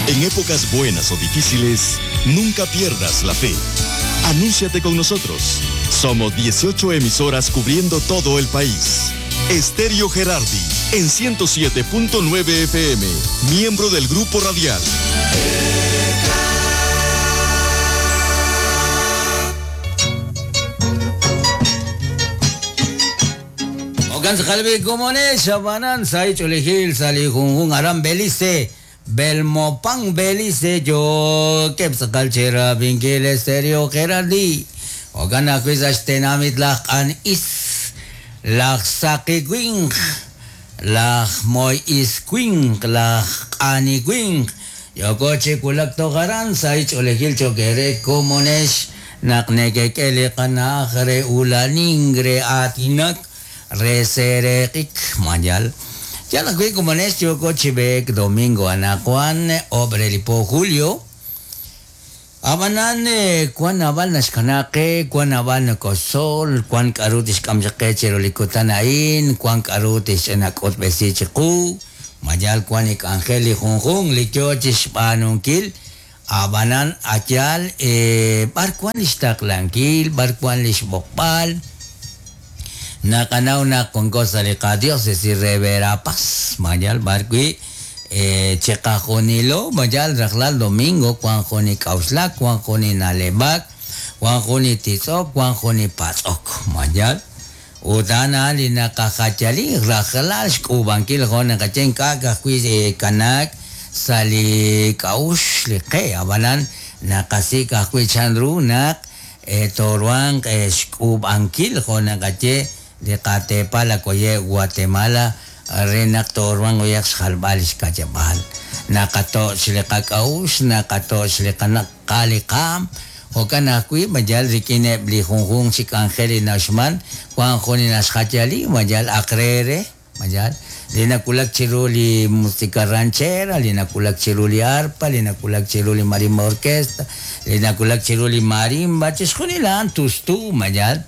En épocas buenas o difíciles, nunca pierdas la fe. Anúnciate con nosotros. Somos 18 emisoras cubriendo todo el país. Estéreo Gerardi, en 107.9 FM, miembro del Grupo Radial. Okan komones shabanan sai chulejil sali junjun aram Belice Belmopan Belice yo kepsakal chera vinkil estéreo Gerardi Okan akuis ashtenamit laj an is laj saqiwinq laj moy isquinq laj q'aniwinq yokochi kulak toqaran sai ch'olejil chokere komonex naq nekek'e li qanaj re ulanin re atinak re sereqik mayal ya la kui komonex yokochi bek domingo anakuan obre lipo julio Abanan kwan abal naxkanaqe kwan abal nakosol kwan k'aru tixk'amxaqe chirolikutan a'in kwan k'aru tixch'inak'utb'esi chiqu mayal kwan ik'anjel li junjun li yo chixb'aanunkil abanan ayal b'ar kwan li xtaqlankil b'ar kwan li xb'oqb'al naqanaw naq wanko sa' li qadiócesis re Verapaz mayal b'ar wi' chiqajunilo mayal rajlal domingo kwan jun ik'awxlak kwan jun inaleb'ak kwan jun ititz'ok kwan jun ipatz'ok mayal utana li naqajachali rajlal xk'ub'ankil jo' naqaye ink'a' ka'ajwi' kanaak sa' li k'a'uxl li qe ab'anan naqasik' ajwi' chanru naq toruanq xk'ub'ankil jo' naqaye li qateepal akoye Guatemala re naq toruanq uyaq xjalb'al xkach'ab'al naqatoch' li qak'a'uxl naqatoch' li qanaq li qaam jo'kan ajwi' mayal rik'ineb' li junjun chi k'anjel li naxman wan jun li naxjachali mayal aqrere mayal li nakulak chiru li música ranchera li nakulak chiru li arpa li nakulak chiru li marimba orquesta li nakulak chiru li marimba chixjunil a'an tustu mayal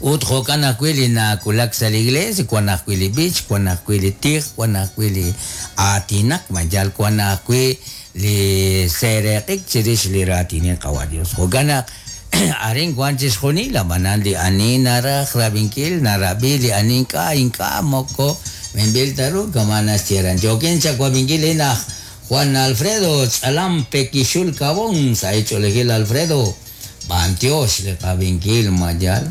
ut jo'kan ajwi' li nakulak sa' li iglesia wan ajwi' li b'ich wan ajwi' li tij wan ajwi' li aatinak mayal wan ajwi' li sereqik chirix li raatinil qawa Dios jo'kan naq arin wan chixjunil ab'anan li ani naraj rab'inkil narab'i li ani ink'a' ink'a' moko minb'il ta ru kama naxyeran yokin chawab'inkil inaj Juan Alfredo Tz'alam Pekixul Kabon sa' ich'olejil Alfredo b'antiox li qab'inkil mayal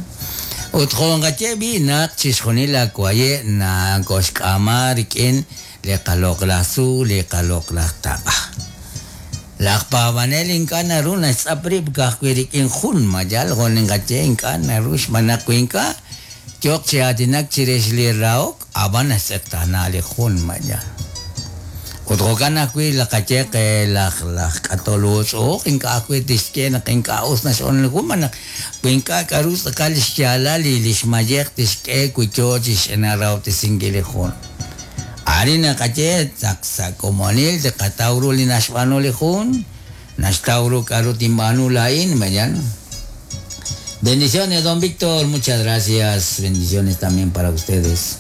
ut jo'nqaye b'i naq chixjunil akwaye nakoxk'ama rik'in li qaloq'laj tzuul li qaloq'laj taq'a laj paab'anel ink'a' naru naxtz'ap rib' ka'ajwi' rik'in jun mayal jo' ninqaye ink'a' naru xb'aan naq wi ink'a' yoq chi aatinak chirix li rahok ab'an naxtz'eqtaana li jun mayal ut jo'kan ajwi' laqaye qe laj laj k'atol uutz'uuq ink'a' ajwi' tixye naq ink'a' us nax'on li jun naq wi ink'a' k'aru tz'aqal xyaalal li li xmayej tixk'e wi yo chixnarahob'tesinkil li jun arin naqaye naq sa' komonil tiqataw ru li naxb'aanu li jun naxtaw ru k'aru tinb'aanu laa'in mayal Bendiciones, don Víctor, muchas gracias. Bendiciones también para ustedes.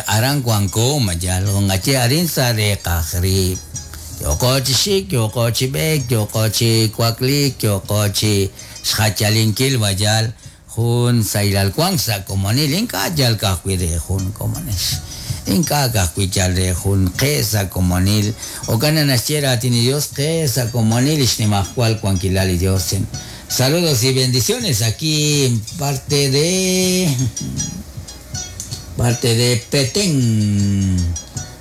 Aran kuanko, mayal, ngache arin sa re qajri. Yokochi xik, yokochi bek, yokochi kuaklik, yokochi xjachalinkil mayal. Jun sailal kuang sa komonil, inka yal kajwi re jun komonex. Inka kajwi yal re jun qe sa komonil. Okana naxchera atini Dios qe sa komonil, ixnimajkual kuankilal y Dios. Saludos y bendiciones aquí en parte de Petén.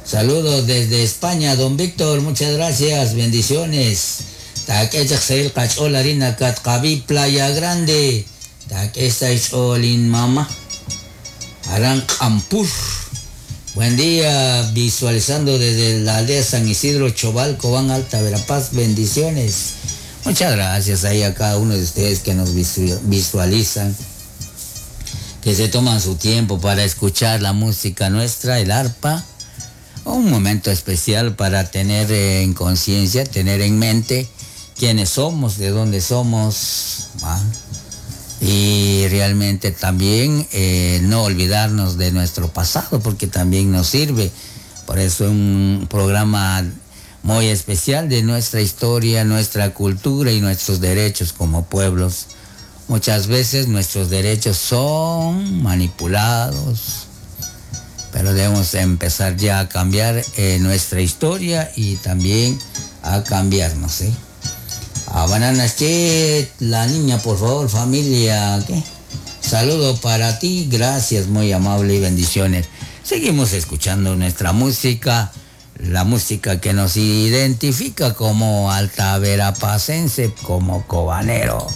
Saludos desde España, don Víctor, muchas gracias, bendiciones. Playa Grande. Mama. Aran Ampur. Buen día, visualizando desde la aldea San Isidro, Choval, Cobán, Alta Verapaz, bendiciones. Muchas gracias ahí a cada uno de ustedes que nos visualizan, que se toman su tiempo para escuchar la música nuestra, el arpa. Un momento especial para tener en conciencia, tener en mente quiénes somos, de dónde somos, ¿va? Y realmente también no olvidarnos de nuestro pasado, porque también nos sirve. Por eso un programa muy especial de nuestra historia, nuestra cultura y nuestros derechos como pueblos. Muchas veces nuestros derechos son manipulados, pero debemos empezar ya a cambiar eh, nuestra historia y también a cambiarnos. ¿eh? A Bananas, che, la niña, por favor, familia, ¿qué? Saludo para ti, gracias, muy amable y bendiciones. Seguimos escuchando nuestra música, la música que nos identifica como alta verapacense, como cobanero.